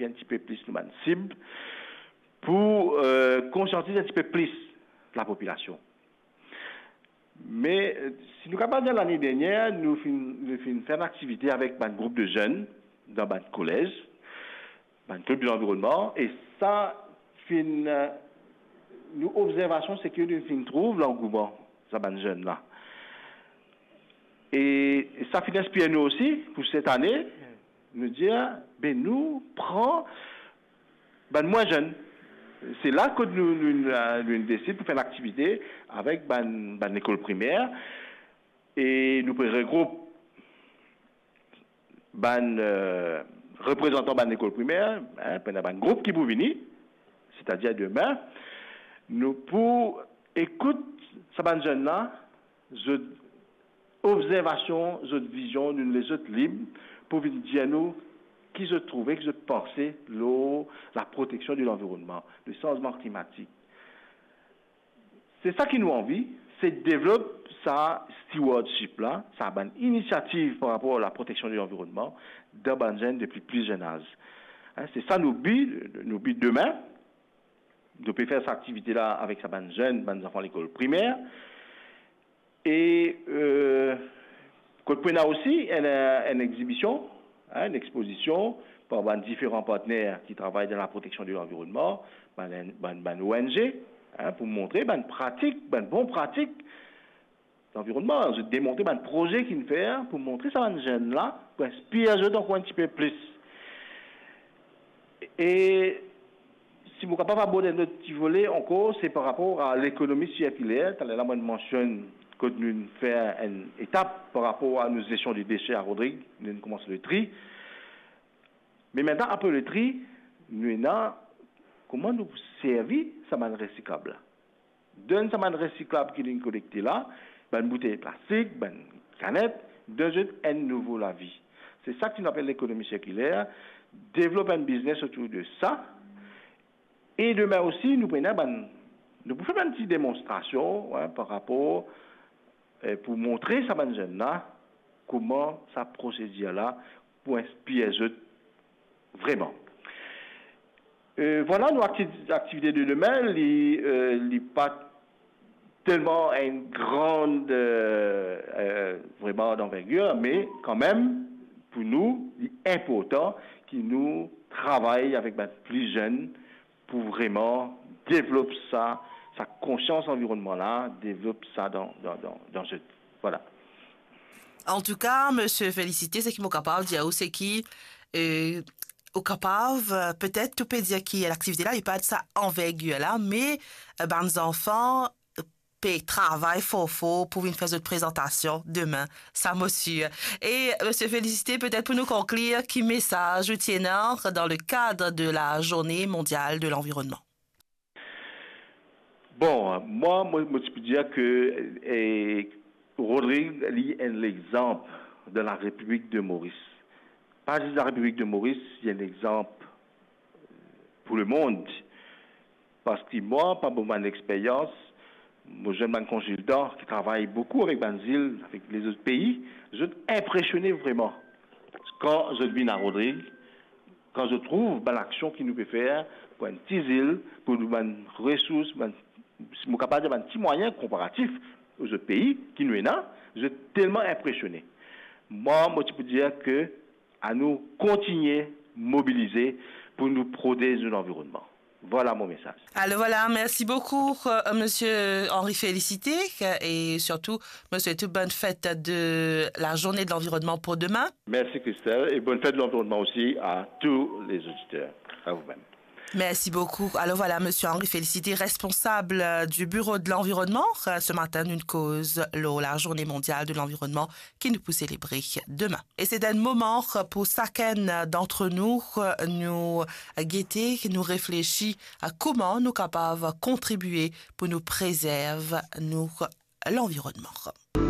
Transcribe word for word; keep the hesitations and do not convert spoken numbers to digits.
enn tipe plis nou bann sib, pou, eh, konsiantiz enn tipe plis lapopilasion. Me, eh, si nou kapav dir, lane dernier, nou finn, nou finn fer enn aktivite avek bann group de zenn dan bann kolez, bann klib de lanvironnman, e sa finn, eh, nou obzervasion, se ke nou finn trouv langouman sa bann zenn la. E sa finn inspir nou osi pou set ane, nou dir, be nou pran bann mwin zenn. Se la kot nou, nou, nou, nou desid pou fer enn aktivite avek bann, bann lekol primer, e nou pe regroup bann, eh, reprezantan bann lekol primer, hein, pou ena bann group ki pou vini, setadir demin, nou pou ekout sa bann zenn la, zot obzervasion, zot vizion, nou les zot lib pou vinn dir nou ki zot trouve, ki zot panse lor laproteksion de lanvironnman, le sanzman klimatik. Se sa ki nou anvi, se devlop sa stewardship la, sa bann inisiativ par rapor laproteksion de lanvironnman dan bann zenn depi pli zenn az. Hein, se sa nou bi, nou bi demin. Nou pe fer sa aktivite la avek sa bann zenn, bann zanfan lekol primer. E, eh, kot pou ena osi enn, enn egzibision, hein, enn expozision par bann diferan partner ki travay dan laproteksion de lanvironnman, bann, bann, bann O N G, hein, pou montre bann pratik, bann bon pratik lanvironnman, zot demontre bann proze ki finn fer pou montre sa bann zenn la, pou inspir zot ankor enn tipe plis. E si mo kapav abord enn lot ti vole ankor, se par rapor a lekonomi sirkiler. Taler la, mo mansionn kot nou fer enn etap par rapor a nou zestion de dese a Rodrig, nou koumans le tri. Me mintenan, apre le tri, nou ena kouma nou servi sa bann resiklab la. Donn sa bann resiklab ki nou kolekte la, bann boutey plastik, bann kanet, donn zot enn nouvo lavi. Se sa ki nou apel lekonomi sirkiler. Devlop enn biznes otour de sa. E demin osi, nou pou ena bann, nou pou fer bann ti demonstrasion, hein, par rapor, eh, pou montre sa bann zenn la kouma sa prosedir la pou inspir zot vreman. Eh, vwala, nou akti-, aktivite de demin, li, eh, li pa telman enn gran, eh, eh, vreman danvergir, me kanmem, pou nou, li inportan ki nou travay avek bann pli zenn pou vreman devlop sa, sa konsians anvironnman la, devlop sa dan, dan, dan, dan zot. Vwala. Antouka, Misie Félicité, seki mo kapav dir ou, seki, eh, ou kapav, eh, petet ou pe dir ki laktivite la, li pa sa anvergir la, me, eh, bann zanfan, eh, pe travay for for pou vinn fer zot prezantasion demin, sa mo sir. E, Misie Félicité, petet pou nou konklir, ki mesaz ou ti ena dan le kad de la Journée mondiale de l'environnement? Bon, mwa, mo, mo ti pou dir ke, eh, Rodrig, li enn lexanp dan la Repiblik de Moris. Pa zis la Repiblik de Moris, li enn lexanp pou lemond. Parski mwa, par mo bann experyans, mo zwenn bann konsiltan ki travay boukou avek bann zil, avek lezot pei, zot inpresione vreman kan zot vinn a Rodrig, kan zot trouv bann aksion ki nou pe fer pou enn ti zil, pou nou bann resours, bann, si mo kapav dir, bann ti mwayin konparatif o zot pei ki nou ena, zot telman inpresione. Mwa, mo ti pou dir ke anou kontigne mobilize pou nou protez nou lanvironnman. Vwala mo mesaz. Alors voilà, merci beaucoup, euh, Monsieur Henri Félicité, euh, et surtout, Monsieur, tout bonne fête de la journée de l'environnement pour demain. Merci Christelle, et bonne fête de l'environnement aussi à tous les auditeurs. À vous-même. Merci beaucoup. Alors voilà, Monsieur Henri Félicité, responsable, euh, du Bureau de l'environnement. Euh, ce matin, nou koz lor la Journée mondiale de l'environnement ki nou pou selebre demin. E se enn moman pou sakenn d'antre nou, nou gete, nou reflesi kouma nou kapav kontribie pou nou prezerv nou lanvironnman.